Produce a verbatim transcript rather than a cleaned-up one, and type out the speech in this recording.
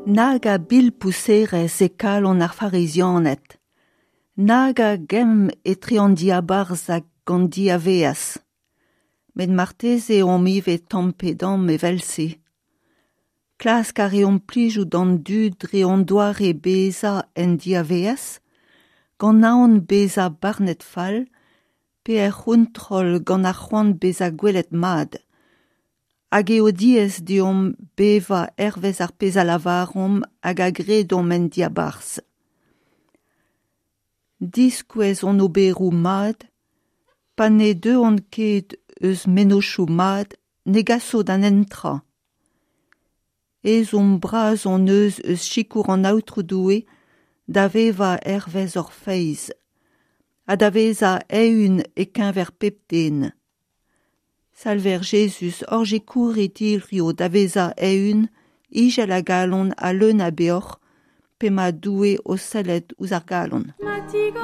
Nag a bilpouzerezh e kalon ar Farizianed ! Nag a gemm etre an diabarzh hag an diavaez ! Met marteze omp ivez tamm pe damm evel-se. Klask a reomp plijout d'an dud dre hon doare bezañ en diavaez, gant aon bezañ barnet fall, pe er c'hontrol gant ar c'hoant bezañ gwelet mat. Hag eo diaes deomp bevañ hervez ar pezh a lavaromp hag a gredomp en diabarzh. Diskouez hon oberoù mat, pa ne deuont ket eus mennozhioù mat, ne gaso da netra. Ezhomm bras hon eus eus sikour an Aotrou Doue da vevañ hervez hor feiz, ha da vezañ eeun e-keñver pep den. Salver Jezuz, hor sikourit hiziv da vezañ eeun, izel a galon ha leun a beoc'h, p'emañ Doue o sellet ouzh ar galon. Ma tigor